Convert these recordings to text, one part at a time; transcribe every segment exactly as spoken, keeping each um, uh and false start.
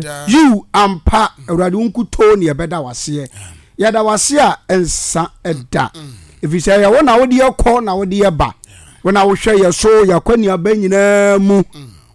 Yiw, ampa, Awurade, wo nkutoo ne yɛbɛda wo aseɛ. Yɛda wo ase a ɛnsa da, ɛfiri sɛ ɛyɛ wo na wode yɛ kɔ na wode yɛ ba. Wo na wohwɛ yɛ so yɛ akɔneaba nyinaa mu.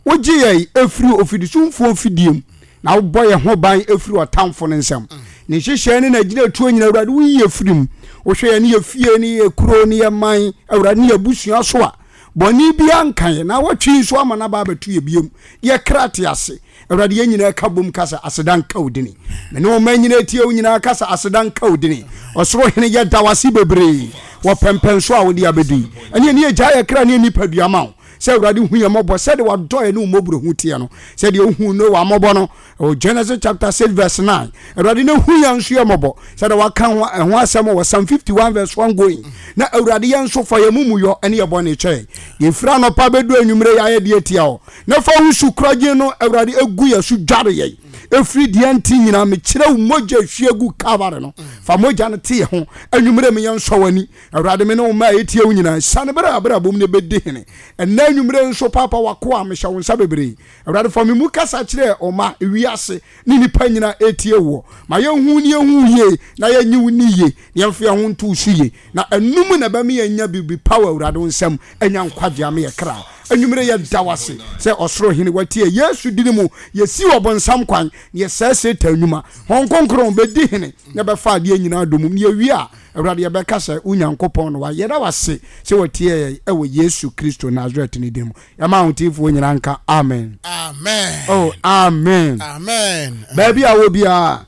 Wogye yɛn ɛfiri ofidisumfoɔ mfidie mu, na wobɔ yɛn ho ban ɛfiri ɔtamfo no nsam. Ne nhyehyɛɛ ne n'agyinatuo nyinaa, Awurade, woyi yɛ firi mu. Wohwɛ yɛn ne yɛ fie ne yɛ kuro ne yɛ man, Awurade, ne yɛ abusua so a, bɔne biara nka yɛn, na awɔtwe yi nso ama no aba abɛto yɛ biom. Yɛ kra te ase. Awurade, yɛn nyinaa ka bom ka sɛ, Aseda nka wo dini. Me ne wo mma nyinaa tie wo nyinaa ka sɛ, Aseda nka wo dini. Ɔsoro Hene, yɛda wo ase bebree wɔ pɛmpɛnso a wode abɛdu yi. Ɛne ɛne yɛgyaa yɛ kra ne yɛn nipadua ma wo sɛ Awurade hu yɛn mmɔbɔ sɛdeɛ wadɔ yɛn ne wo mmɔborɔhu teɛ no, sɛdeɛ wohuu Noa mmɔbɔ no ɛwɔ Genesis chapter six verse nine. Awurade na hu yɛn nso yɛ mmɔbɔ sɛdeɛ waka ho ɛho asɛm wɔ Psalm fifty one verse one going. Na Awurade yɛn nso fa yɛn mumuyɔ ne yɛn bɔne kyɛ yɛn. Yɛfiri anɔpa bɛdu anwummere yɛayɛ deɛ tia wo. Na fa wo su korɔgyen no Awurade egu yɛn so dware yɛn. Ɛfiri deɛ nti nyinaa mekyerɛ wo mogya hwie gu Calvary no. Fa mogya no te yɛn ho. Anwummere me yɛn nsɔ w'ani. Awurade me ne wo mma a ɛtie wo nyinaa siane berɛ a abrabɔ mu na ɛbɛdi hene. Ɛnnɛ anwummere nso Paapa w'akoa mehyɛ wo nsa bebree. Awurade fa me mu kasa kyerɛ ɔma, wiase, ne nnipa nyinaa ɛretie woɔ. Ma yɛnhu ne yɛnhu wo yie na yɛnye wo nni yie na yɛmfa yɛn ho nto wo so yie. Na ɛno mu na ɛbɛma yɛanya biribi pa wɔ Awurade wo nsam, anya nkwagyeɛ ama yɛn kra. Anwummere yɛda wo ase sɛ Ɔsoro Hene watie Yesu dini mu yɛsi ɔbonsam kwan na yɛsɛe Satan nnwuma. Honhom Kronkron bɛdi hene na bɛfa adeɛ nyinaa domum na yɛwie a Awurade yɛbɛka sɛ wo Nyankopɔn no wa. Yɛda wo ase sɛ watie yɛn ɛwɔ Yesu Kristo Nasaret ne din mu. Yɛma ahoteefoɔ nyinaa nka amen. Amen. Oh, amen. Amen. Baabi a wɔ biara,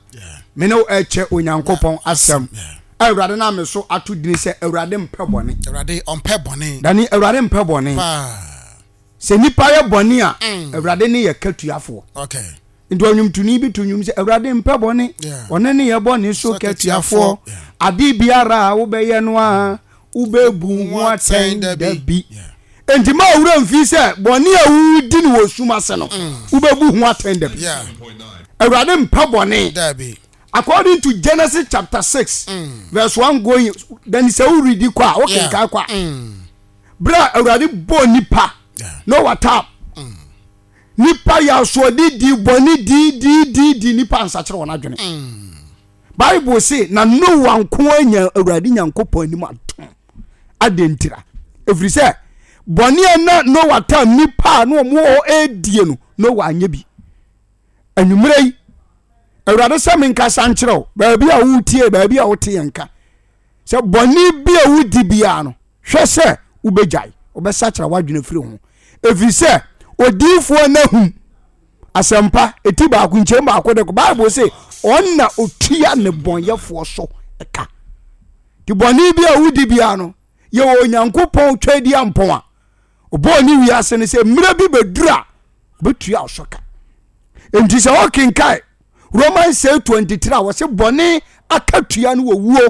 me ne wo ɛkyɛ Onyankopɔn asɛm. Awurade na me so ato dini sɛ Awurade mpɛ bɔne. Awurade ɔmpɛ bɔne. Dani, Awurade mpɛ bɔne. Sɛ nipa yɛ bɔne a, mm. Awurade ne yɛ katuafoɔ. Okay. Nti ɔnwomtoni bi to nnwom sɛ Awurade mpɛ bɔne, ɔne ne yɛ bɔne so katuafoɔ. Ade biara a wobɛyɛ no a, wobɛbu ho atɛn da bi. Enti ma owura mfi sɛ bɔne a wodi no wɔ sum ase no, mm. wobɛbu ho atɛn da bi. Awurade mpɛ bɔne. According to Genesis chapter six mm. verse one going, then sɛ woredi kɔ a, wokenkan kɔ a. Mm. Berɛ a Awurade bɔɔ nipa, Noah tam, nipa yɛ asoɔde di bɔne di di di di nipa nsakyerɛ wɔn adwene. Bible se na Noa nko anya Awurade Nyankopɔn anim adom. Adɛn ntira? Ɛfiri sɛ bɔne a na Noa tam nipa a na wɔn wɔ hɔ ɛredie no, Noa anyɛ bi. Anwummerɛ yi, Awurade sɛ menkasa nkyerɛ wo, baabi a wotie, baabi a wote yɛn nka, sɛ bɔne bi a wodi biara no, hwɛ sɛ wobɛgyae, wobɛsakyera w'adwene firi ho. Ɛfiri sɛ odiyifoɔ Nahum asɛmpa ɛti baako nkyɛn baako de kɔ Bible se ɔna otua ne bɔnyɛfoɔ so ka. Nti bɔne bi a wodi biara no, yɛwɔ Onyankopɔn twadi ampɔn a ɔbɔɔ ne wiase no sɛ mmerɛ bi bɛduru a ɔbɛtua wo so ka. Nti sɛ wokenkae Romans eight twenty three a wɔse bɔne akatua no wɔ wuo,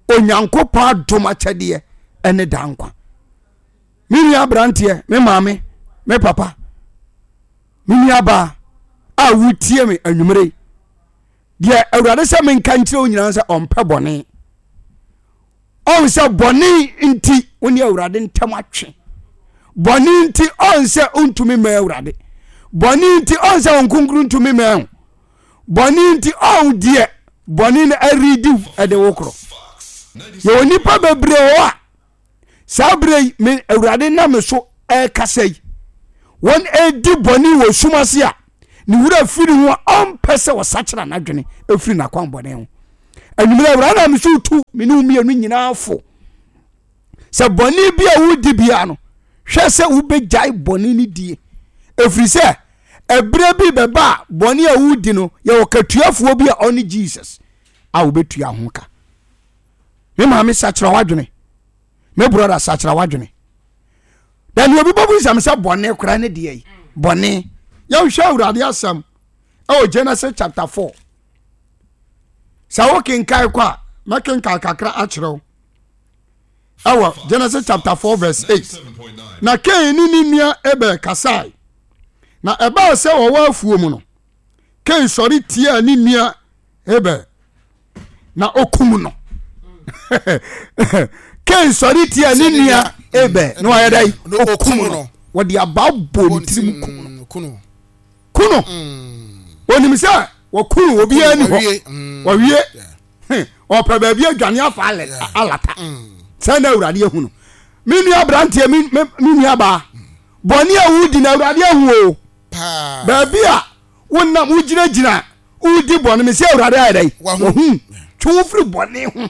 Onyankopɔn adom akyɛdeɛ ɛne daa nkwa. Me nua aberanteɛ, me maame, me papa, me nua baa a wotie me anwummere, deɛ Awurade sɛ menka nkyerɛ wo nyinaa sɛ ɔmpɛ bɔne. Ɔn sɛ bɔne nti wo ne Awurade ntam atwe. Bɔne nti ɔn sɛ wontumi mmɛn Awurade. Bɔne nti ɔn sɛ wɔn kronkron ntumi mmɛn ho. Bɔne nti ɔn deɛ bɔne no aredi ɛde wo korɔ. Yɛwɔ nnipa bebree wɔ a saa berɛ yi me Awurade nam me so ɛrekasa yi, wɔn ɛredi bɔne wɔ sum ase a ne wura firi ho a ɔmpɛ sɛ ɔsakyera n'adwene ɛfiri n'akwan bɔne ho. Anwummerɛ Awurade nam me so tu me ne wo mmienu nyinaa fo sɛ bɔne bi a wodi biara no, hwɛ sɛ wobɛgyae bɔne no die, ɛfiri sɛ ɛberɛ bi bɛba a bɔne a wodi no yɛwɔ katuafoɔ bi a ɔne Jesus a wobɛtua ho ka. Me maame sakyera w'adwene, me brɔda sakyera w'adwene. Na nea obi bɛbu nsɛm sɛ bɔne koraa ne deɛ yi bɔne. Yɛnhwɛ Awurade asɛm ɛwɔ Genesis chapter four. Sɛ wokenkan kɔ a, mɛkenkan kakra akyerɛ wo. Ɛwɔ Genesis chapter four verse eight. Na Kain ne ne nua Abel kasae. Na ɛbaa sɛ wɔwɔ afuo mu no, Kain sɔre tiaa ne nua Abel na okum no. Kain sɔre tia ne nua Abel na wayɛ dɛ okum no. Wɔde abaa bɔ ne tirim kum no. Ku no. Onim sɛ wɔkunu obiara ni hɔ, wɔwie ɔpɛ baabi adwane afa alata. Sɛ na Awurade ahu no. Me nua aberanteɛ, me nua baa, bɔne a wodi na Awurade ahu o. Baabi a wonam wogyinagyina wodi bɔne, me sɛ Awurade ayɛ dɛn? Wahu. Twe wo firi bɔne ho.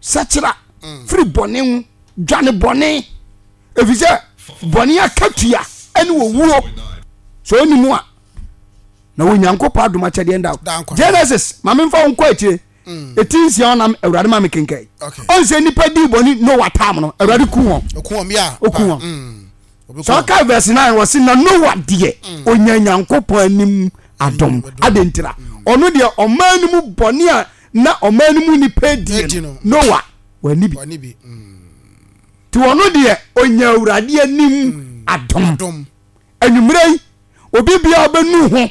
Sɛkyera firi bɔne ho, dwane bɔne, ɛfiri sɛ bɔne akatua ɛne owuo. Sɛ ɔnim a na Onyankopɔn adom akyɛdeɛ nda. Genesis, ma memfa wo nkɔ akyire ɛti nsia ɔnam Awurade ma me kenkan. Ɔn sɛ nnipa dii bɔne Noah tam no, Awurade ku wɔn. Ɔku wɔn. Sɛ ɔka verse nine, wɔ se na Noah deɛ ɔnya Nyankopɔn anim adom. Adɛn ntira? Ɔno deɛ ɔman no mu bɔne a na ɔman no mu nnipa die no, Noah wani bi. Nti ɔno deɛ ɔnya Awurade anim adom. Anwummerɛ yi, obi biara bɛnu ho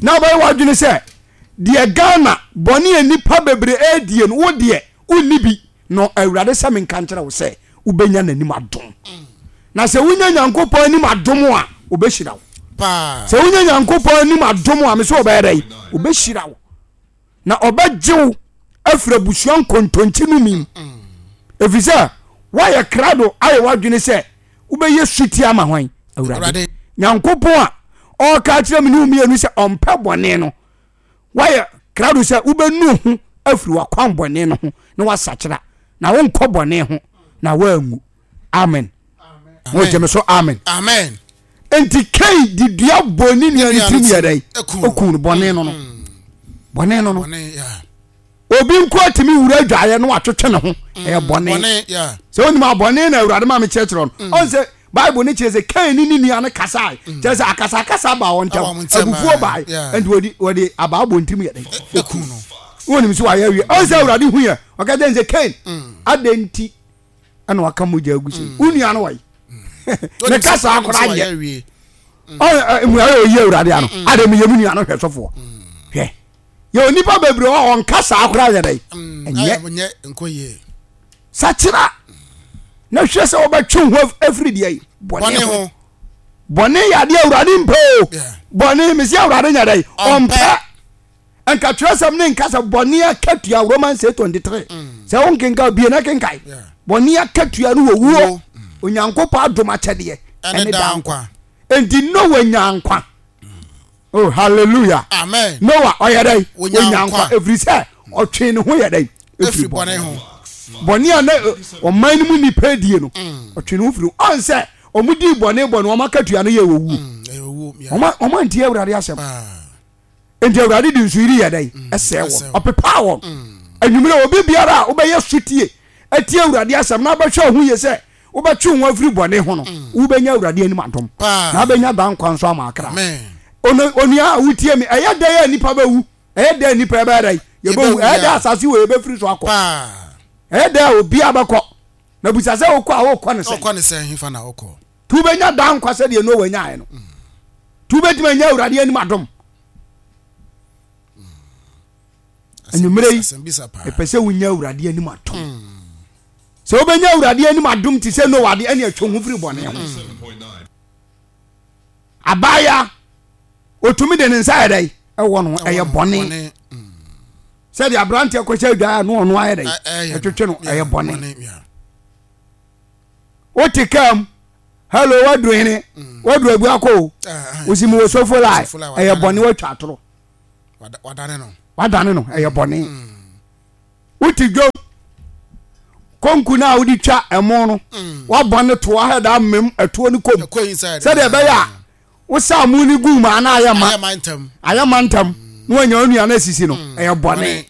na wobɛyɛ w'adwene sɛ deɛ Ghana bɔne a nnipa bebree ɛredie no, wo deɛ wonni bi no. Awurade sɛ menka nkyerɛ wo sɛ wobɛnya n'anim adom. Na sɛ wonya Nyankopɔn anim adom a, wobɛhyira wo. Sɛ wonya Nyankopɔn anim adom a, me sɛ wɔbɛyɛ dɛn? Wobɛhyira wo na ɔbɛgye wo afiri abusua nkontonkyi no mu, ɛfiri sɛ woayɛ krado ayɛ w'adwene sɛ wobɛyɛ suti ama hwan? Awurade Nyankopɔn a ɔreka kyerɛ me ne wo mmienu sɛ ɔmpɛ bɔne no. Woayɛ krado sɛ wobɛnu ho afiri w'akwan bɔne no ho na woasakyera na wonkɔ bɔne ho na woanwu. Amen. Wogye me so? Amen. Amen. Nti Kain de dua bɔ ne nua ne tirim yɛ dɛn? Okun no. Bɔne no no, bɔne no no obi nko atumi wura adwaeɛ na watwetwe ne ho, ɛyɛ bɔne. Sɛ wonim a, bɔne na Awurade ma me kyerɛkyerɛ no. Ɔn sɛ Bible ne kyerɛ sɛ Kain ne ne nua no kasae, kyerɛ sɛ akasakasa baa wɔn ntam, abufuo bae, nti wɔde wɔde abaa bɔ ntirim yɛ dɛn? Okun no. Wonim sɛ wayɛ awie. Ɔn sɛ Awurade hu yɛ, ɔka kyerɛ sɛ Kain, adɛn nti ɛna waka mogya agu sɛ wo nua no wɔyi ne kasa akora nyɛ mmuaeɛ ɔyi Awurade ano ade meyɛ me nua no hwɛ sɔfoɔ. Hwɛ, yɛ onipa bebree hɔ ɔnka saa koraa yɛ dɛn? Ɛnyɛ sakyera na hwɛ sɛ wɔbɛtwe ho afiri deɛ yi bɔne ho. Bɔne yɛ adeɛ Awurade mpɛ o. Bɔne, mesi Awurade nyɛ dɛn? Ɔmpɛ. Nka twerɛsɛm ne nka sɛ bɔne akatua, Romans eight twenty three. Sɛ wo nkenka bie na kenkae. Bɔne akatua no wɔ wuo, Onyankopɔn adom akyɛdeɛ ɛne daa nkwa. Enti Noah nya nkwa. Oh, hallelujah. Amen. Noah ɔyɛ dɛn? Onya nkwa ɛfiri sɛ ɔtwee ne ho yɛ dɛn? Ɛfiri bɔne ho. Bɔne a na ɔman no mu nnipa die no, ɔtwe ne ho firi ho. Ɔn sɛ ɔmo dii bɔne bɔne, ɔmo akatua no yɛ owuo. Ɔmo antie Awurade asɛm. Nti Awurade de nsuyiri yɛ dɛn? Ɛsɛe wɔn, ɔpepaa wɔn. Anwummerɛ, obi biara a wobɛyɛ sotie atie Awurade asɛm na wobɛhwɛ wo ho yie sɛ wobɛtwe wo ho afiri bɔne ho no, wobɛnya Awurade anim adom na wobɛnya daa nkwa nso ama akra. Onua a wotie me, ɛyɛ dɛn a nnipa bɛwu? Ɛyɛ dɛn a nnipa yɛbɛyɛ dɛn? Yɛbɛwu. Ɛyɛ dɛn asase wɔ yɛbɛfiri so akɔ? Ɛyɛ dɛn a obiara bɛkɔ? Na bisa sɛ wokɔ a wokɔ ne sɛn? Nti wobɛnya daa nkwa sɛdeɛ Noa nyaeɛ no. Nti wobɛtumi anya Awurade anim adom. Anwummerɛ yi, ɛpɛ sɛ wonya Awurade anim adom. Sɛ wobɛnya Awurade anim adom te sɛ Noa de, ɛne atwa ho firi bɔne ho. Abaayewa otumi de ne nsa yɛ dɛ ɛwɔ no, ɛyɛ bɔne. Sɛdeɛ aberanteɛ kɔhyɛ adwaeɛ a na ɔno ayɛ dɛ ɛtwetwe no, ɛyɛ bɔne. Wote kaa mu, hello, waduru hene? Waduru Abuakɔ o, wosi mu wɔ sofo line, ɛyɛ bɔne, watwa atoro, wadane no, ɛyɛ bɔne. Wote dwom konku no a wode twa ɛmo no, wabɔ ne toa hɛ da mmem ɛtoɔ no kom sɛdeɛ ɛbɛyɛ a wosa mu no gu mu ana ayɛ ma ayɛ ma ntam na wanya onua no asisi no, ɛyɛ bɔne.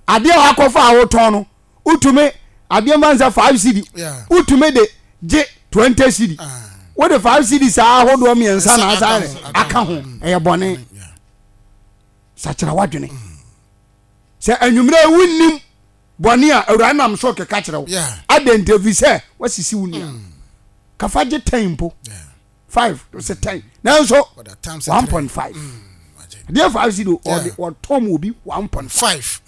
Adeɛ a wakɔfa a wotɔn no, wotumi adeɛ mfa nsɛ five cedi, wotumi de gye twenty cedi, wode five cedi saa ahodoɔ mmiɛnsa na asa aka ho, ɛyɛ bɔne. Sakyera wadwene sɛ anwummerɛ wonnim bɔne a Awurade nam so keka kyerɛ wo. Adɛn nti? Ɛfiri sɛ wasisi wo nua kafa gye ten mpo, five sɛ ten, nanso one point five adeɛ five cedi ɔde ɔtɔn mu obi one point five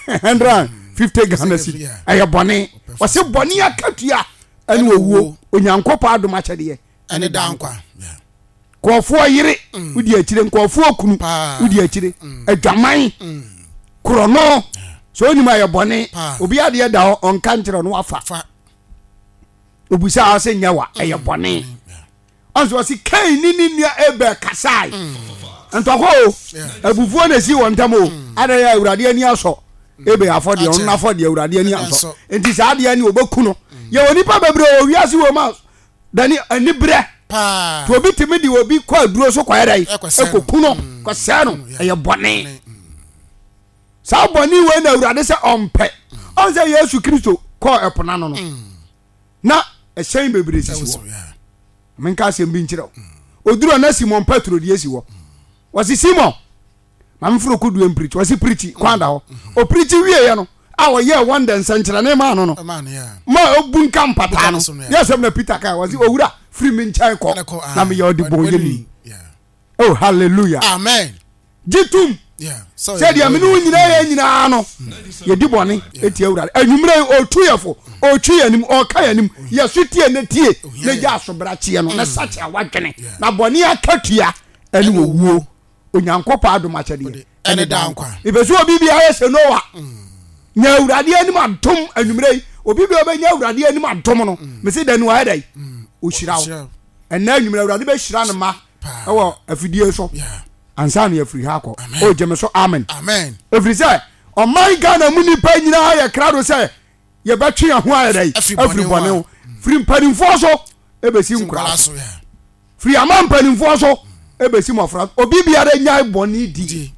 hundred and fifty Ghana cedi, ɛyɛ bɔne. Wɔsi bɔne akatua ɛne owuo, Onyankopɔn adom akyɛdeɛ ɛne daa nkwa. Nkurɔfoɔ yere wodi akyire, nkurɔfoɔ kunu wodi akyire, adwaman, korɔno, sɛ onim a yɛ bɔne, obi adeɛ da hɔ ɔnka nkyerɛ no wafa. Obusa a ɔsɛ nyɛ wa, ɛyɛ bɔne. Ɔnso ɔsi Kain ne ne nua Abel kasae. Ntɔkwa o, abufuo na esi wɔn ntam o. Adan yɛ Awurade ani asɔ Abel afɔdeɛ, ɔno n'afɔdeɛ Awurade ani ansɔ. Nti saa adeɛ ne ɔbɛku no. Yɛwɔ nipa bebree wɔ wiase wɔ mu a dani anibrɛ. To obi tumi de obi kɔ aduro so kɔyɛ dɛ ɛkɔku no, kɔsɛɛ no, ɛyɛ bɔne. Saa bɔne wei na Awurade sɛ ɔmpɛ. Ɔn sɛ Yesu Kristo kɔɔ ɛpo n'ano no, na ɛhyɛn bebree sisi hɔ. Menka asɛm bi nkyerɛ wo. Oduru na Simon Petro deɛ si hɔ. Wɔsi Simon, ma mforo kodoɔ mpirikyi. Wɔsi pirikyi, kwan da hɔ. Opirikyi wieɛ no, a ɔyɛɛ wɔn dɛ nsɛnkyerɛnne maa no no, ma obu nka mpataa no. Yɛ asɛm na Peter kae, wɔsi owura, firi me nkyɛn kɔ, na meyɛ ɔdebɔnyɛni. Oh, hallelujah. Amen. Gye tom sɛ deɛ mene wo nyinaa yɛ nyinaa no, yɛdi bɔne ɛtia Awurade. Anwummerɛ yi, ɔtu yɛ fo, ɔtwi yɛ anim, ɔka yɛ anim. Yɛso tie ne tie, na gya asobrakyeɛ no, na sakyera wadwene, na bɔne akatua ɛne owuo. Onyankopɔn adom akyɛdeɛ ɛne daa nkwa. Mepɛ sɛ obi biara yɛ sɛ Noa. Nya Awurade anim adom anwummerɛ yi. Obi biara bɛnya Awurade anim adom no, mese dɛ no ayɛ dɛ, ɔhyira wo. Ɛnna anwummerɛ Awurade bɛhyira ne ma ɛwɔ afidie so ansa na yɛafiri ha akɔ. O gye me so amen. Ɛfiri sɛ ɔman Ghana mu nnipa nyinaa yɛ krado sɛ yɛbɛtwe yɛn ho ayɛ dɛ afiri bɔne ho, firi mpanimfoɔ so ɛbɛsi nkoraa so, firi ama mpanimfoɔ so ɛbɛsi mmɔfra. Obi biara nyae bɔne di,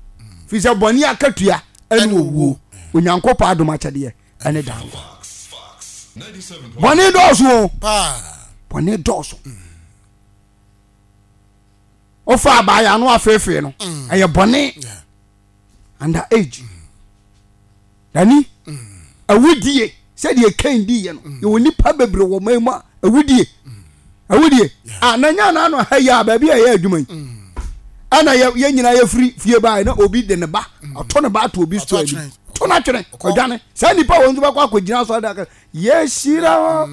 firi sɛ bɔne akatua ɛne owuo. Onyankopɔn adom akyɛdeɛ ɛne daa nkwa. Bɔne dɔɔso o, bɔne dɔɔso. Wofa abaayɛ ano afeefee no, ɛyɛ bɔne. Under age dani awudie, sɛdeɛ Kain diiɛ no, yɛwɔ nipa bebree wɔ man mu a awudie, awudie a na nya na ano ha yi a baabi a ɛyɛ adwuma yi, ɛna yɛ yɛn nyinaa yɛfiri fie baa na obi de ne ba ɔto ne ba ato obi store anim, to no atwene, ɔdwane. Saa nipa wɔn nso bɛkɔ akɔgyina asɔre da yɛhyira hɔ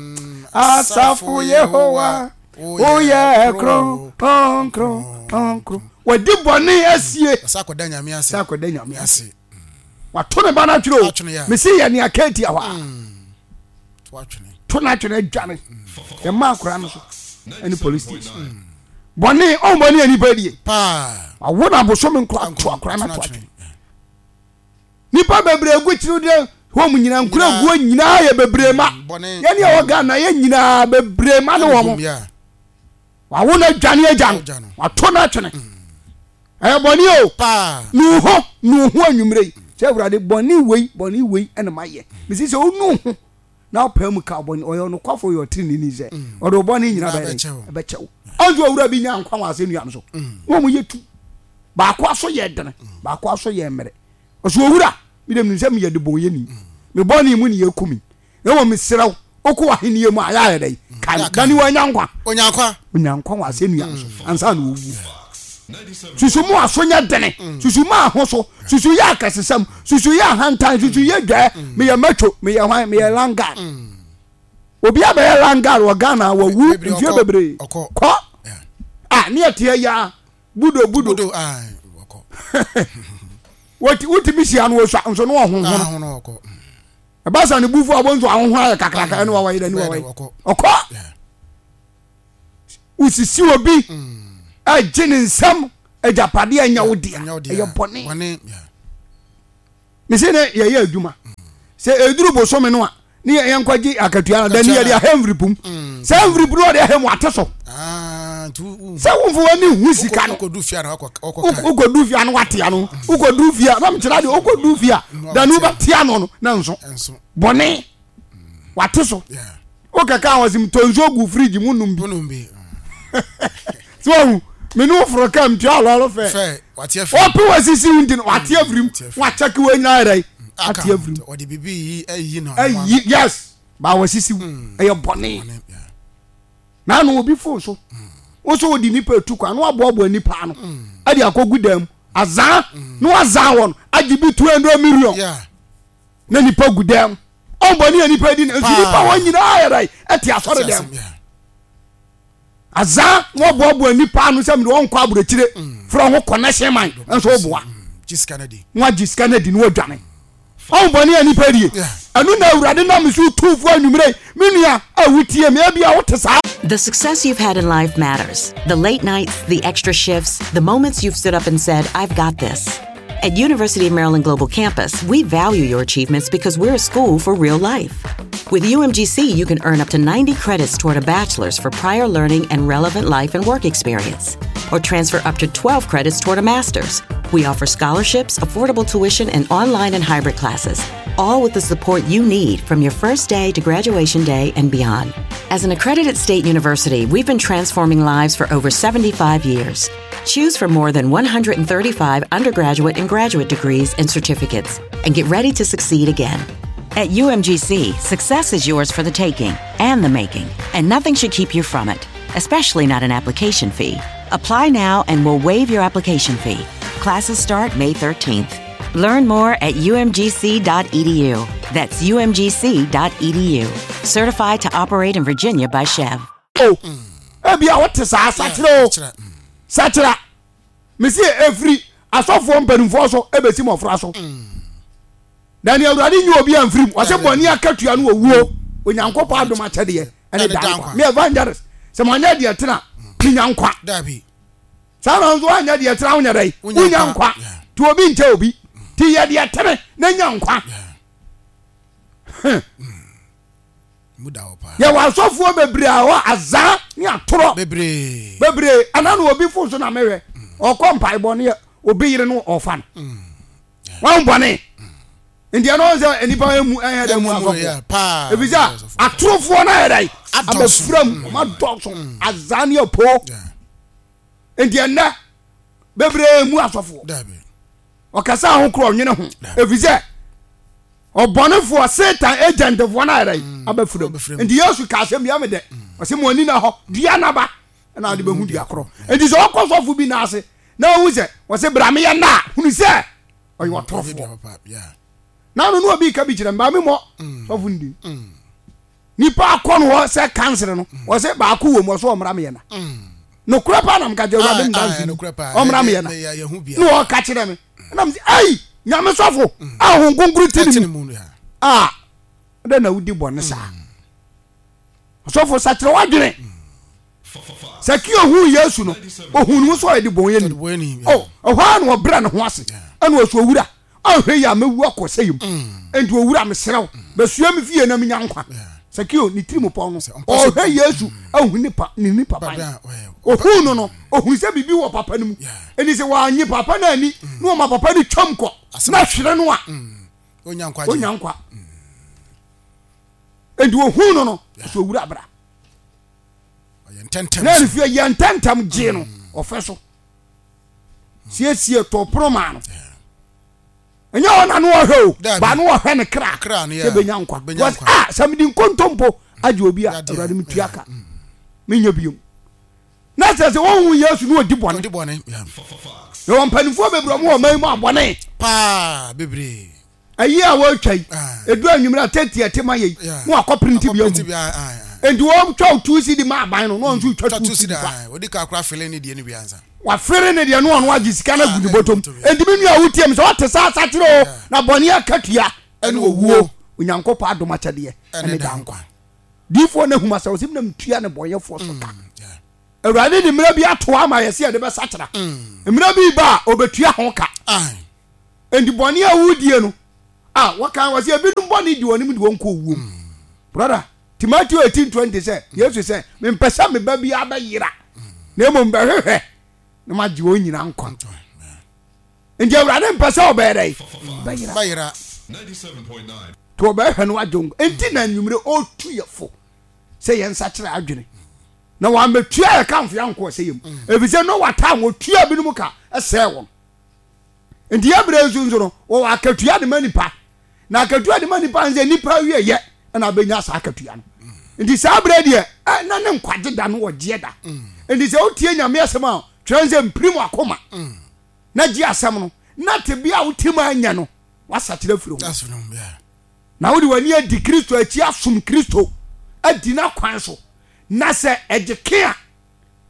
asafo Yehowa woyɛ kronkron. Wɔde bɔne asie sɛ akɔda Nyame ase, sɛ akɔda Nyame ase. Wato ne ba no atwene o, mesi yɛ nea ka atia hɔ a to no atwene adwane ɛma akora no so ɛne police station. Bɔne ɔn bɔne a nipa die wawo no abosome nkora ato akora no ato atwene. Nipa bebree gu kyerɛw deɛ home nyinaa nkura guo nyinaa yɛ bebree ma yɛne ɛwɔ Ghana yɛ nyinaa bebree ma ne wɔn wawo no adwane agya no wato no atwene. Ɛyɛ bɔne o, nu ho nu ho anwummerɛ yi sɛ Awurade bɔne wei bɔne wei ɛna mayɛ. Mesi sɛ wonu ho na wopaa mu ka bɔne, ɔyɛ ɔnokwafo ɔyɛ ɔteneneeni sɛ ɔde wo bɔne nyina bɛyɛ ɛbɛkyɛ wo. Ɔnso owura bi nya nkwa wɔ asɛnnua no so na wɔn yɛ tu, baako aso yɛ dene, baako aso yɛ mmerɛ. Ɔsɛ owura, mi dɛm nim sɛ meyɛ debɔnyɛni, me bɔne mu ne yɛku mi, na mmom mesrɛ wo wokɔ w'ahenni mu a yɛ ayɛ dɛn kae me. Dane wanya nkwa, onya nkwa, onya nkwa wɔ asɛnnua no so ansa na owu. Susu mu aso nyɛ dene, susu mu aho so, susu yɛ akɛsesɛm, susu yɛ ahantan, susu yɛ dwɛɛ. Meyɛ macho, meyɛ hwan, meyɛ langard. Obi abɛyɛ langard wɔ Ghana wawu mfie bebree kɔ a ne yɛteɛ ya budo budo wotumi hyia no wɔsua nso ne ɔhohono ɛba sa ne bufu a wɔn nso ahohono ayɛ kakraka ɛne wɔwɔ yɛ ne wɔwɔ ɔkɔ wosisi obi ɛgye ne nsam agyapadeɛ ɛnyɛ wo dea, ɛyɛ bɔne. Mese ne yɛyɛ adwuma sɛ ɛduru bosome no a ne yɛnkɔgye akatua no dani yɛde ahɛ mviripum sɛ mviripu no ɔde ahɛ mu ate so sɛ womfo w'ani hu sika no wokɔdu fie no wate ano wokɔdu fie a na mekyerɛ deɛ wokɔdu fie a dani wobɛte ano no na nso bɔne wate so wokɛka wɔ se metɔ nsuo gu fridge mu nom bi sɛ wahu mene wo foro ka mtua lɔre fɛ ɔpe wasisi wo nti no wate afiri mu wakyɛke wɔ nyina yɛdɛ ate afiri mu ayi yes ba wasisi wo ɛyɛ bɔne na ano obi fon so wo so wode nipa etu kwan na waboaboa nipa ano ɛde akɔgu dan mu azaa na wazaa wɔn agye bi two hundred million na nipa gu dan mu ɔnbɔne a nipa di na nso nipa wɔn nyinaa yɛ dɛ ɛte asɔre dan mu. Azaa na wɔboaboa nnipa ano sɛ mede wɔn nkɔ aburokyire frɛ ho connection man nso woboa na wagye sika no adi na wadwane. Ɔho bɔne a nipa die. Ɛno na Awurade nam so tu fo anwummerɛ yi. Me nua a wotie me, ebia wote saa. The success you've had in life matters. The late nights, the extra shifts, the moments you've stood up and said, I've got this. At University of Maryland Global Campus, we value your achievements because we're a school for real life. With U M G C, you can earn up to ninety credits toward a bachelor's for prior learning and relevant life and work experience, or transfer up to twelve credits toward a master's. We offer scholarships, affordable tuition, and online and hybrid classes, all with the support you need from your first day to graduation day and beyond. As an accredited state university, we've been transforming lives for over seventy-five years. Choose from more than one hundred thirty-five undergraduate and graduate degrees and certificates and get ready to succeed again. At U M G C, success is yours for the taking and the making, and nothing should keep you from it, especially not an application fee. Apply now and we'll waive your application fee. Classes start May thirteenth. Learn more at U M G C dot E D U. That's U M G C dot E D U. Certified to operate in Virginia by SCHEV. O ebia wote saa, sakyera o, sakyera. Mesi efiri asɔfoɔ mpanimfoɔ so ebesi mmɔfra so na nea Awurade nyi obi amfirim. Wɔsɛ bɔne akatua no owuo, Onyankopɔn adom akyɛdeɛ ɛne da nkwa. Me evangelist, sɛ manyɛ deɛ tena, menya nkwa saa na nso woanyɛ deɛ tena, wonyɛ dɛ wonya nkwa. Nti obi nkyɛ obi nti yɛ deɛ tene na nya nkwa. Yɛwɔ asɔfoɔ bebree a hɔ azaa ne atorɔ bebree. Ɛna na obi fo so na mehwɛ ɔkɔ mpaebɔ ne obi yere no ɔfa no wɔn bɔne. Nti ɛno sɛ nipa emu ɛyɛ dɛ mu asɔfoɔ ebi sɛ atorofoɔ no ayɛ dɛ abɛfra mu, ɔmo adɔso azaa ne apo. Nti ɛnɛ bebree mu asɔfoɔ ɔkasa ho korɔ ɔnwene ho efi sɛ ɔbɔnefoɔ Satan agentfoɔ no ayɛ dɛ abɛfra mu. Nti Yesu ka asɛm bi ame dɛ ɔsɛ mo ani na hɔ dua naba ɛna ade bɛhu dua korɔ. Nti sɛ ɔkɔ sɔfo bi n'ase na ɔhu sɛ wɔsɛ bra meyɛ nna a, hunu sɛ ɔyɛ ɔtorofoɔ. Na no no obi ka bi kyerɛ mbaa mi mɔ sɔfo ndi nipa akɔ no hɔ sɛ kansere no wɔsɛ baako wɔ mu ɔsɛ ɔmmra meyɛ na nokorɛ paa na mka kyerɛ Awurade mdanse ni ɔmmra meyɛ na na ɔka kyerɛ me ɛna msɛ ei, Nyame sɔfo a Honhom Kronkron ti ne mu a dɛn na wodi bɔne saa? Ɔsɔfo, sakyerɛ w'adwene. Sakeo huu Yesu no, ohuu ne ho sɛ ɔyɛ de bɔnyɛni. Oh, ɛhɔ ara na ɔbrɛ ne ho ase ɛna ɔsɛ, owura, ɔnhwɛ yi a mɛwu akɔ sɛ yam, enti owura, mesrɛ wo, bɛsua me fie na menya nkwa. Sakeo ne tirim pɔn no, ɔhwɛ Yesu ahu ne pa ne nipa ban. Ohuu no no, ohunu sɛ biribi wɔ papa no mu. Ɛni sɛ wɔanye papa no ani na wɔma papa no twam kɔ na hwere no a, onya nkwa. Enti ohuu no no, ɔsɛ, owura, bra na ne fie. Yɛ ntɛntɛm gyee no ɔfɛ so siesie tɔ pono maa no. Ɛnyɛ hɔ na no ɔhwɛ o, ba no ɔhwɛ ne kra sɛ bɛnya nkwa because ah, sɛ mede nkontompo agye obi a, Awurade, metua ka, menyɛ biom. Na sɛ sɛ wɔhu Yesu ne ɔdi bɔne. Yɛwɔ mpanimfoɔ bebree, ɔmo wɔ ɔman mu abɔne paa bebree. Ayi a wɔretwa yi, edu anwummerɛ a tete ɛte ma yɛ yi na wakɔ printi bi agu. Nti wɔtwa o two cedi ma aban no na wɔn nso twa two cedi fa. Odi ka akora fele ne deɛ no bi ansa. Wafere ne deɛ no, ɔno agye sika no agu ne bɔtɔm. Nti mi nua wotie mi, sɛ ɔte saa, asakyerɛ o, na bɔnne akatua ɛne owuo, Onyankopɔn adom akyɛdeɛ ɛne da nkwa. Diifoɔ no ahum asɛ ɔsɛ mi nam tua ne bɔnyɛfoɔ so ka. Awurade de mmerɛ bi ato ama yɛ sɛ yɛde bɛsakyera. Mmerɛ bi ba a ɔbɛtua ho ka. Nti bɔne a wodie no a wɔkan wɔ sɛ ebinom bɔne di wɔn de wɔn kɔ owuo mu. Brother, Timoteo eighteen twenty sɛ Yesu sɛ, mempɛ sɛ me ba bi abɛyera na mmom bɛhwehwɛ na magye wɔn nyina nkwa. Nti Awurade mpɛ sɛ ɔbɛyɛ dɛ bɛyera, nti ɔbɛhwɛ no agye nkwa. Nti na anwummere ɔtu yɛ fo sɛ yɛn nsa kyerɛ adwene na wɔamɛtua yɛ kamfo yɛ ankɔ sɛ yɛ mu, ɛfiri sɛ Noa time wɔtua binom ka ɛsɛɛ wɔn. Nti yɛ berɛ nso nso no wɔwɔ akatua de ma nipa, na akatua de ma nipa nsɛ nipa awie yɛ ɛna abɛnya saa akatua no. Nti saa berɛ deɛ na ne nkwagye da no ɔgyeɛ da. Nti sɛ wotie Nyame asɛm a, twerɛ sɛ mpirim akoma na gye asɛm no na tebea a wote mu anya no wasakyerɛ firi ho na wode w'ani adi Kristo akyi asom Kristo adi n'akwan so na sɛ ɛgye ke a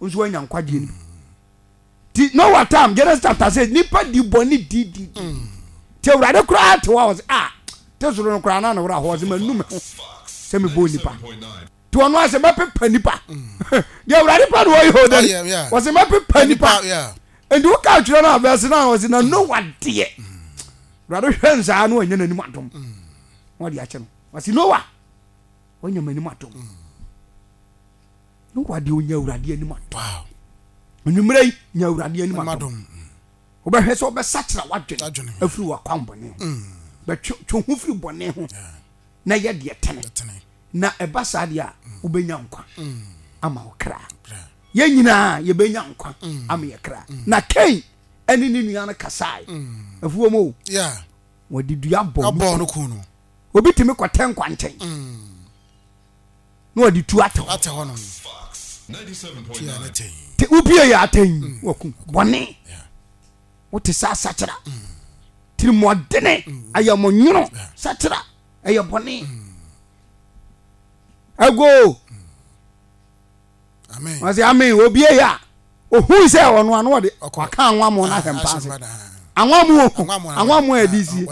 Nso wanya nkwagyeɛ no bi. Ti Noah time, Genesis chapter six, nipa di bɔne di di di. Ti Awurade koraa te hɔ a ɔsɛ ah te soro no koraa na ne wura hɔ ɔsɛ ma nu me ho sɛ me bɔ nipa. Ti ɔno asɛ mɛpepa nipa. Deɛ Awurade pa na ɔyɛ o dɛ. Ɔsɛ mɛpepa nipa. Nti woka atwerɛ no a verse nine ɔsɛ na Noah deɛ. Awurade hwɛ nsaa na ɔnyɛ n'anim adom. Na ɔde akyɛ no. Ɔsɛ Noah wanya m'anim adom. Noah deɛ ɔnya Awurade anim adom. Anwummerɛ yi nya Awurade anim adom. Wobɛhwɛ sɛ wobɛsakyera w'adwene afiri w'akwan bɔne ho. Mm. Bɛtwe ho firi bɔne ho na yɛ deɛ tene. Na ɛba saa deɛ a mm. wobɛnya nkwa mm. ama wo kra. Yɛn nyinaa yɛbɛnya nkwa ama yɛ kra. Na Kain ɛne ne nua no kasae. Afuo mu o. Wɔde dua bɔ no ku no. Obi tumi kɔtɛ nkwa nkyɛn. Na wɔde tu atɛ hɔ. Te wopie yɛ atɛn mm. wɔku bɔne. Wote sɛ asakyera. Mm. Tirimɔdene mm. ayɛmɔnwono sakyera ɛyɛ bɔne. Ago. Wɔsɛ amen obie yɛ a ohun sɛ ɔno ano ɔde waka anwammo no ahwɛ mpa ase. Anwammo anwammo a ɛde sie.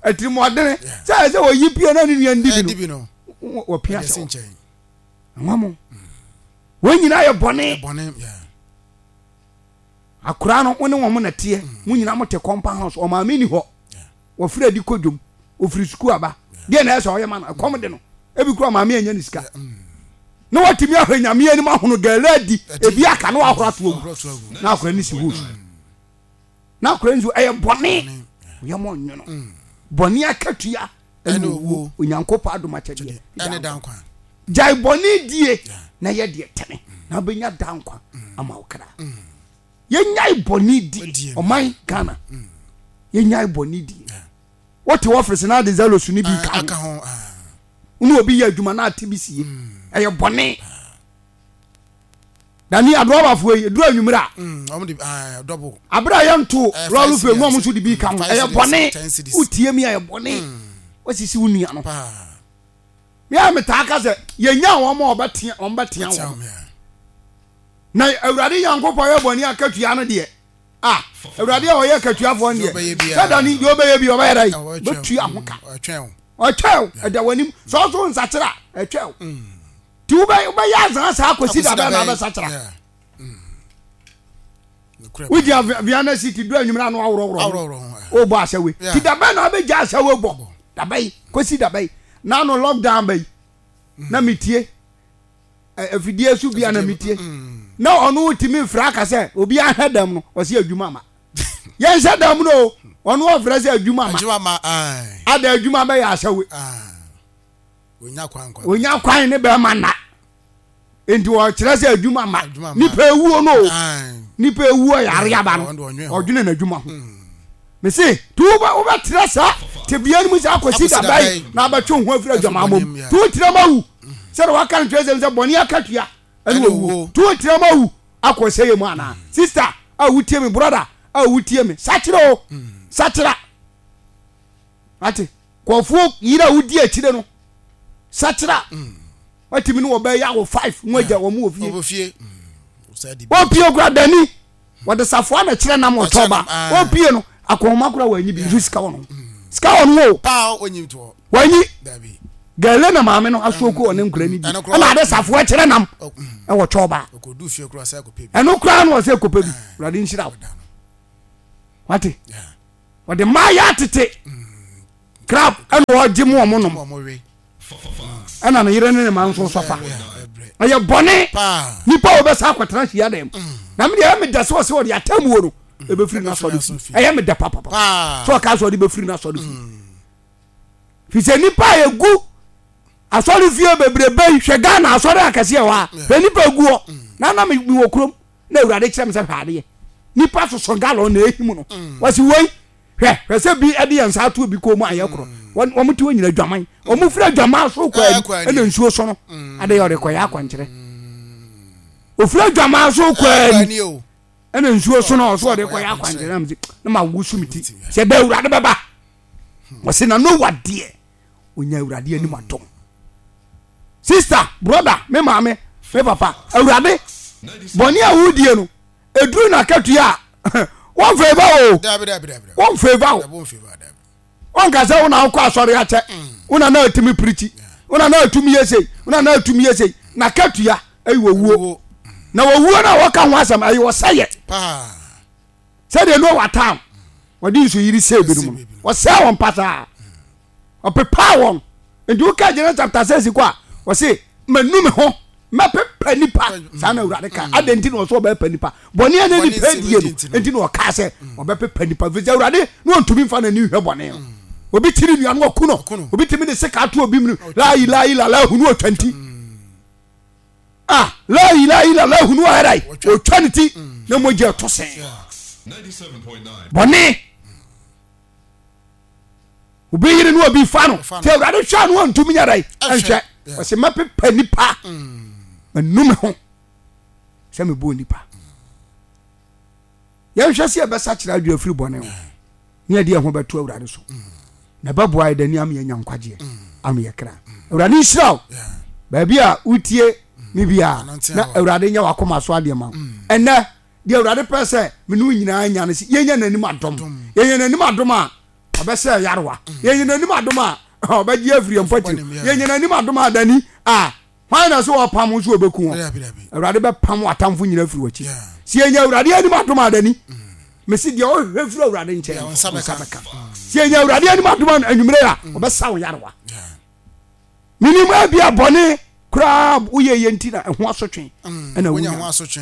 Atirimɔdene sɛ ɛsɛ wɔyi pie na ne nua ndi bi no wɔpia hyɛ hɔ. Anwammo wɔn nyinaa yɛ bɔne. Akora no wo ne wɔn na teɛ mo nyinaa mo te compound house ɔmaame ni hɔ wɔfiri adi kɔ dwom ofiri sukuu aba deɛ na ɛsɛ ɔyɛ ma no ɛkɔm de no ebi kura maame anya ne sika na watumi ahwɛ nyame anim ahono gɛlɛ adi ebi aka na wahoro ato agu na akora ne si hɔ na akora nso ɛyɛ bɔne ɔyɛ mɔ nwono mm. bɔne akatua ɛne owuo Onyankopɔn adom akyɛdeɛ ɛne da nkwa gyae bɔne die na yɛ deɛ tene na wobɛnya da nkwa mm. ama wo kra mm. Yɛnyae bɔne di ɔman Ghana mm. Yɛnyae bɔne di. Wote ɔfisi na ade zelos no bi ka ho wone obi yɛ adwuma na ate bi sie mm. Ɛyɛ bɔne dani adrɔbafoɔ yi ɛduru anwummerɛ a mm, aberɛ a yɛnto eh, lɔre fɛ mu ɔmo nso de bi ka ho ɛyɛ bɔne wotie mi ɛyɛ bɔne mm. Wasisi wo nua no mea metaa ka sɛ yɛnya wɔn a wɔbɛtea wɔn bɛtea wɔn na Awurade Nyankopɔn yɛ bɔne akatua no deɛ a Awurade a ɔyɛ akatuafoɔ no deɛ sɛ dane deɛ ɔbɛyɛ bi ɔbɛyɛ dɛ bɛtua ho ka ɔtwɛw ɛda w'anim sɛ ɔso nsakyera ɛtwɛw nti wobɛyɛ azaa saa kɔsi da bɛn na wobɛsakyera wogyina Vienna city du anwummerɛ ano aworɔworɔ wobɔ asɛwe nti da bɛn na wobɛgya asɛwe bɔ da bɛyi kɔsi da bɛyi na ano lockdown bɛyi na metie afidie so bia na metie na ɔno tumi mfrɛ aka sɛ obi ahwɛ dɛm no ɔsɛ adwuma ma yɛnhyɛ dɛm no ɔno ɔfrɛ sɛ adwuma ma ada adwuma bɛyɛ asɛwe onya kwan ne bɛrima nna nti ɔkyerɛ sɛ adwuma ma nipa ewuo no nipa ewuo yare aba no ɔdwene n'adwuma ho mese ti wobɛtrɛ saa tebea no mu saa kɔsi daba yi na abɛtwe ho afiri adwamammɔ mu ti wotrɛ ma wu sɛdeɛ waka no twerɛsɛm sɛ bɔne akatua ɛne owuo ti wotrɛ ma wu akɔ sɛyɛ mu anaa sister a wotie me brother a wotie me sakyera o sakyera ate kɔfoɔ yere a wodi akyire no sakyera watumi ne wɔbɛyɛ awo five mu agya wɔn wɔ fie wɔpie kura dani wɔde safoa na kyerɛ nam ɔtɔ ba wɔpie no akɔnma kura wɔanyi bi nso sika wɔ no sika wɔ no o wɔanyi gɛlɛ na maame no aso ko ɔne nkura ni bi ɛna ade safoa kyerɛ nam ɛwɔ twɔ ba ɛno kura no ɔsɛ kɔpɛ bi wurade nhyira wo wate wɔde mmaa yɛ atete crab ɛna ɔgye mu ɔmo nom ɛna ne yere ne ne ma nso sɔfa ɛyɛ bɔne nipa a wɔbɛsa akɔtena hyia dɛm mm. na me deɛ ɛyɛ me dɛ sɛ ɔsɛ ɔde atemmuo no mm. ɛbɛfiri n'asɔre fi ɛyɛ me dɛ papapa sɛ ɔka sɛ ɔde bɛfiri n'asɔre fi mm. fi sɛ nipa a ɛgu asɔre fie bebrebe yi hwɛ Ghana asɔre akɛseɛ hɔ a hwɛ nipa ɛgu hɔ na na mewɔ kurom na awurade kyerɛ me sɛ hwɛ adeɛ nipa soso galɔn na ɛhim no wɔsi wei hwɛ hwɛ sɛ bi ɛde yɛn nsa ato bi kɔn mu ayɛ korɔ wɔn wɔn ti wɔn nyina adwaman wɔn firi adwaman so kɔ ani ɛna nsuo so no ade yɛ ɔde kɔ yɛ akwankyerɛ ofiri adwaman so kɔ ani ɛna nsuo so no ɔso ɔde kɔ yɛ akwankyerɛ na mesi na ma wusu mi ti sɛ dɛ awurade bɛba wɔsi na Noa deɛ onya awurade anim adom sister brother me maame me papa awurade Bɔne a wodie no ɛduru n'akatua a wɔmfeeva o. Dabi dabi dabi. Wɔmfeeva o. Dabi wɔmfeeva dabi. Wɔnka sɛ wo na wokɔ asɔre akyɛ, wo na na atumi pirikyi, wo na na atumi yɛ sei, wo na na atumi yɛ sei. N'akatua ɛyɛ owuo. Na owuo no a wɔka ho asɛm ɛyɛ ɔsɛyɛ. Paa. Sɛdeɛ Noa tam wɔde nsuyiri sɛe binom no, wɔsɛe wɔn pasaa, ɔpepaa wɔn. Nti woka Genesis chapter six kɔ a, wɔse manu me ho mɛpepa nipa. Saa na Awurade ka. Adɛn nti na ɔsɛ ɔbɛpepa nipa? Bɔne a na nipa die no nti na ɔkaa sɛ ɔbɛpepa nipa, firi sɛ Awurade na ɔntumi mfa n'ani nhwɛ bɔne no. Obi kyiri nua no ɔku no, obi tumi de sika ato obi mu laayi laayi lala ahunu ɔtwa nti. Ah, laayi laayi lala ahunu ɔyɛdai ɔtwa ne ti na mogya ɛtɔ sɛn. Bɔne obi yere no obi fa no nti Awurade hwɛ no ɔntumi nyɛ dɛn ɛnhwɛ. Ɔsɛ mɛpepa nipa, manu me ho sɛ mebɔɔ nipa. Yɛnhwɛ sɛ yɛbɛsakyerɛ adwene afiri bɔne ho ne yɛde yɛn ho bɛto Awurade so, na ɛbɛboa yɛ dani ama yɛanya nkwagyeɛ ama yɛ kra. Awurade nhyira wo baabi a wotie me biara, na Awurade nyɛ w'akoma so adeɛ ma wo. Ɛnɛ deɛ Awurade pɛ sɛ me ne wo nyinaa nya no sɛ yɛnya n'anim adom. Yɛnya n'anim adom a ɔbɛsɛ yarewa. Yɛnya n'anim adom a ɔbɛgye afiri yɛn mpɔkyerɛ. Yɛnya n'anim adom a dani a hwan na sɛ ɔpam nso ɔbɛku wɔn. Awurade bɛpam w'atamfo nyinaa firi w'akyi. Sɛ yɛnya Awurade anim adom a dani mesi deɛ ɔhwehwɛ firi Awurade nkyɛn no nsa bɛka. Sɛ yɛnya Awurade anim adom a anwummerɛ a ɔbɛsa wo yarewa. Menim ebia bɔne koraa woyɛ yɛ nti na ɛho asotwe ɛna wonya.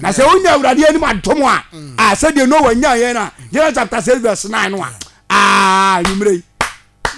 Na sɛ wonya Awurade anim adom a a sɛdeɛ Noa nyaa yɛn a Genesis chapter six verse nine no a aa anwummerɛ yi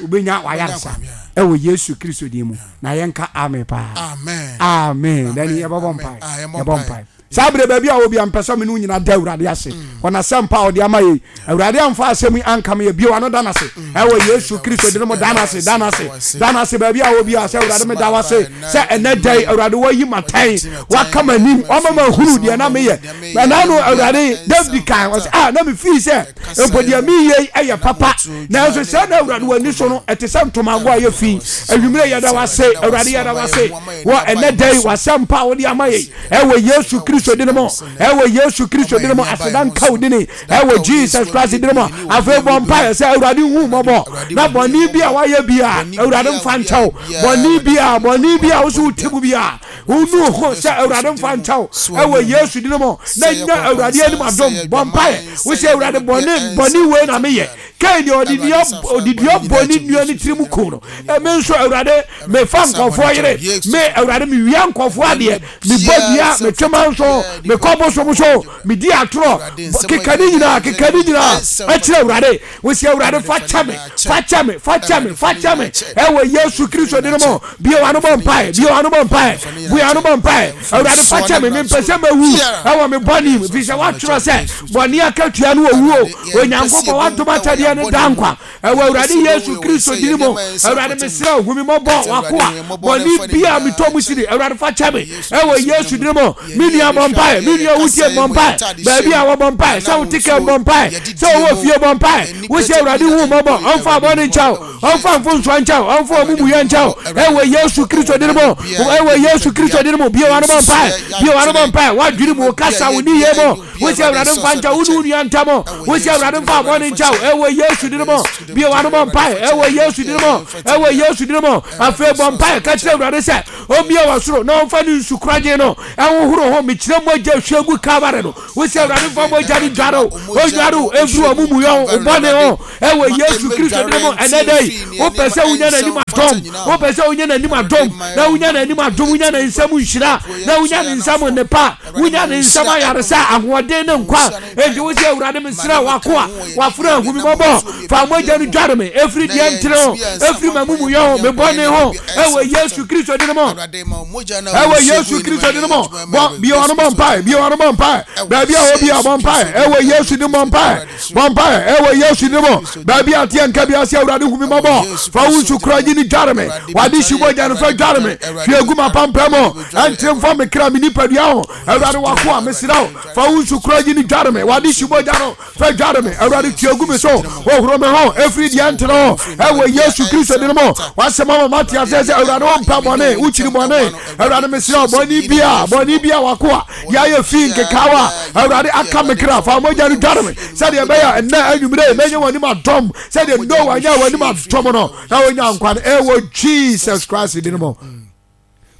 wobɛnya wayaresa ɛwɔ Yesu Kristo din mu. Na yɛnka amen paa. Amen. Dani yɛbɛbɔ mpae. Yɛbɔ mpae. Saa berɛ baabi a wɔ bia mpɛ sɛ me ne wo nyina da Awurade ase wɔ n'asɛmpa a ɔde ama yei. Awurade amfa asɛm yi ankame yɛ bio ano da n'ase ɛwɔ Yesu Kristo din mu. Da n'ase, da n'ase, da n'ase baabi a wɔ bia sɛ Awurade meda wo ase sɛ ɛnɛ da yi Awurade wayi m'atɛn, waka m'anim, wama mahunu deɛ na meyɛ. Ɛna no Awurade David kan ɔsɛ ah na mefii sɛ mpo deɛ meyɛ yi ɛyɛ papa, nanso sɛ na Awurade w'ani so no ɛte sɛ ntomago a ɛyɛ fi. Anwummerɛ yɛda wo ase Awurade, yɛda wo ase wɔ ɛnɛ da yi w'asɛmpa a wode ama yɛ ɛwɔ Yesu Kristo din mu, ɛwɔ Yesu Kristo din mu. Aseda nka wo din ɛwɔ Jesus Christ din mu. Afei bɔ mpaeɛ sɛ Awurade hu mmɔbɔ na bɔne bi a wayɛ bi a Awurade mfa nkyɛw. Bɔne bi a bɔne bi a wo so wote mu bi a wonu ho sɛ Awurade mfa nkyɛw ɛwɔ Yesu din mu, na nya Awurade anim adom. Bɔ mpaeɛ wo sɛ Awurade bɔne bɔne wei na meyɛ. Kain deɛ ɔde dua ɔde dua bɔ ne nua ne tirim ku no. Ɛmi nso Awurade mefa nkɔfoɔ yere me Awurade mewia nkɔfoɔ adeɛ, mebɔ dua, metwe manso, mekɔ bosom so, medi atorɔ, keka ne nyinaa keka ne nyinaa ɛkyerɛ Awurade. Wosi Awurade fa kyɛ me, fa kyɛ me, fa kyɛ me, fa kyɛ me ɛwɔ Yesu Kristo din mu. Bue w'ano bɔ mpae, bue w'ano bɔ mpae, bue w'ano bɔ mpae. Awurade fa kyɛ me, mempɛ sɛ mɛwu ɛwɔ me bɔne mu, firi sɛ woatwerɛ sɛ bɔne akatua no owuo. Onyankopɔn w'adom akyɛdeɛ no da nkwa ɛwɔ Awurade Yesu Kristo din mu. Awurade mesrɛ wo hu me mmɔbɔ, w'akoa bɔne bi a metɔ mu sini Awurade fa kyɛ me ɛwɔ Yesu din mu. Me nua bɔ mpae, me nua wotie bɔ mpae, baabi a wɔbɔ mpae, sɛ wote kɛm bɔ mpae, sɛ wowɔ fie bɔ mpae, wosɛ Awurade hu mmɔbɔ, ɔmfa bɔne nkyɛ wo, ɔmfa mfomsoɔ nkyɛ wo, ɔmfa ɔmumuyɛ nkyɛ wo ɛwɔ Yesu Kristo din mu, ɛwɔ Yesu Kristo din mu. Bue w'ano bɔ mpae, bue w'ano bɔ mpae, w'adwene mu, wo kasa, wo nneyɛɛ mu, wosɛ Awurade mfa nkyɛ wo ne wo nua ntam, wosɛ Awurade mfa bɔne nkyɛ wo ɛwɔ Yesu din mu. Bue w'ano bɔ mpae ɛwɔ Yesu din mu, ɛwɔ Yesu din mu. Afei bɔ mpae ka kyerɛ Awurade sɛ ɔmmue w'asoro na ɔmfa ne nsu koragye no ɛnhohoro ho. Mekyerɛ mogya hwie gu Calvary no, wosɛ Awurade mfa mogya no dware wo, ɔnware wo ɛmfiri w'amumuyɔ ho, wo bɔne ho ɛwɔ Yesu Kristo din mu. Ɛnɛ da yi wopɛ sɛ wonya n'anim adom, wopɛ sɛ wonya n'anim adom na wonya n'anim adom, wonya ne nsam nhyira na wonya ne nsam nnepa, wonya ne nsam ayaresa, ahoɔden ne nkwa. Enti wo sɛ Awurade mesrɛ w'akoa w'afena ahu me mmɔbɔ, fa mogya no dware me ɛfiri deɛ ntene ho, ɛfiri m'amumuyɔ ho, me bɔne ho, ɛwɔ Yesu Kristo din mu, ɛwɔ Yesu Kristo din mu. Bɔ bie w'ano bɔ mpae, bie w'ano bɔ mpae, baabi a wɔ bia bɔ mpae, ɛwɔ Yesu din bɔ mpae, bɔ mpae, ɛwɔ Yesu din mu. Baabi a teɛ nka bi ase Awurade hu me mmɔbɔ. mmɔbɔ. Fa wo nsu korɔgye no dware me. W'ade hye mogya no fa dware me. Hwie gu m'apampam mu. Ɛnte mfa me kra, me nipadua ho. Awurade w'akoa, mesrɛ wo, fa wo nsu korɔgye no dware me. W'ade hye mogya no fa dware me. Awurade tue gu me so. Hohoro me ho ɛfiri deɛ ɛntene ho. Ɛwɔ Yesu Kristo din mu. W'asɛm ama mate aseɛ sɛ Awurade wompɛ bɔne, wokyiri bɔne. Awurade mesrɛ wo, bɔne bia, bɔne bia w'akoa yɛayɛ fi nkekaawa a Awurade aka me kra. Fa mogya no dware me sɛdeɛ ɛbɛyɛ a ɛnnɛ anwummerɛ yi mɛnya w'anim adom sɛdeɛ Noa nyaa w'anim adom no na ɔnya nkwa no ɛwɔ Jesus Christ din mu.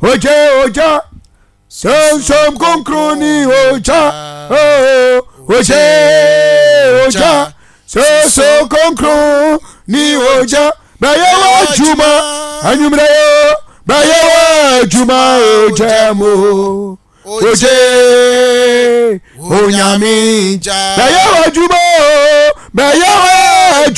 Ogye ogya sɛnsɛm kronkron ni ogya oh, ogye ogya sɛnsɛm kronkron ni ogya bɛyɛ w'adwuma anwummerɛ yo bɛyɛ w'adwuma ogya mu. Oje onyame bɛyɛ w'adwuma o bɛyɛ